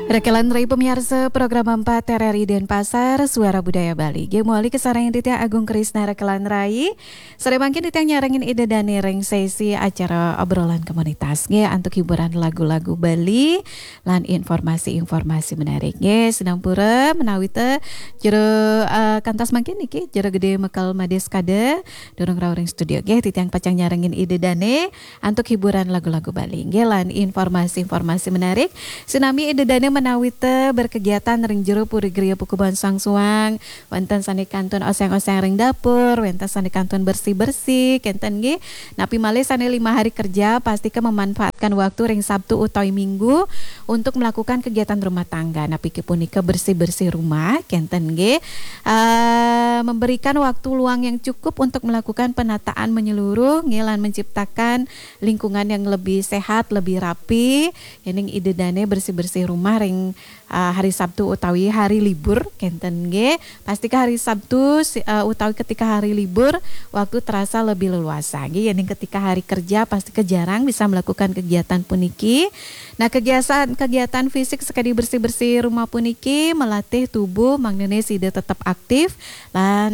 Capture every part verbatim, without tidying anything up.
Rekelan Rai pemiarsa program empat R R I Denpasar, Suara Budaya Bali. Nggih, mawali kasarengin titiang Agung Krisna Rekelan Rai. Sore mangkin titiang nyarengin Ida Dane ring sesi acara obrolan komunitas. Nggih, antuk hiburan lagu-lagu Bali lan informasi-informasi menarik. Nggih, sinampura menawi te jero, eh, kantos mangkin niki, Jero Gede Mekel Madis Kada, durung rauh ring studio. Nggih, titiang pacang nyarengin Ida Dane antuk hiburan lagu-lagu Bali. Nggih, lan informasi-informasi menarik. Sinami Ida Dane menawi te berkegiatan ring jero puri griya Pakubunan Sangsuang, wenten sane kantun oseng-oseng ring dapur, wenten sane kantun bersih-bersih, kenten nggih. Napi malih sane lima hari kerja, pastika memanfaatkan waktu ring Sabtu utawi Minggu untuk melakukan kegiatan rumah tangga. Napi ke punika bersih-bersih rumah, kenten nggih. Eh, memberikan waktu luang yang cukup untuk melakukan penataan menyeluruh, nggih, lan menciptakan lingkungan yang lebih sehat, lebih rapi. Yening Ida Dane bersih-bersih rumah ring, ah, hari Sabtu utawi hari libur, kenten nggih. Pastika hari Sabtu si- ah, utawi ketika hari libur, waktu terasa lebih leluasa. Nggih, yening ketika hari kerja, pastika jarang bisa melakukan kegiatan puniki. Nah, kegiatan kegiatan fisik sekadi bersih-bersih rumah puniki melatih tubuh, mangnene sida tetap aktif lan,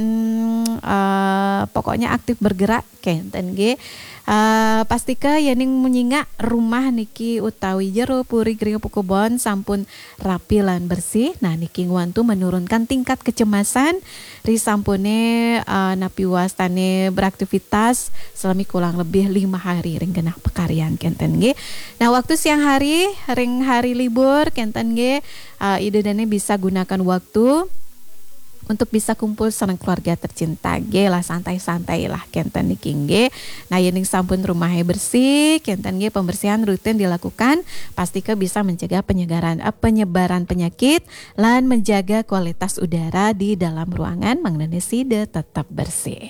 eh, pokoknya aktif bergerak, kenten nggih. Eh, pastika yening nyingak rumah niki utawi jero puri griya Pakubunan sampun rapi lan bersih. Nah, niki ngwantu menurunkan tingkat kecemasan risampune, eh, napi wastane beraktivitas selami kurang lebih lima hari ring genah pakaryan, kenten nggih. Nah, waktu siang hari ring hari libur, kenten nggih, eh, Ida Dane bisa gunakan waktu untuk bisa kumpul sareng keluarga tercinta. Nggih lah, santai-santai lah, kenten niki nggih. Nah, yening sampun rumahe bersih, kenten nggih, pembersihan rutin dilakukan, pastika bisa mencegah penyegaran, eh, penyebaran penyakit lan menjaga kualitas udara di dalam ruangan, mangnene sida tetap bersih.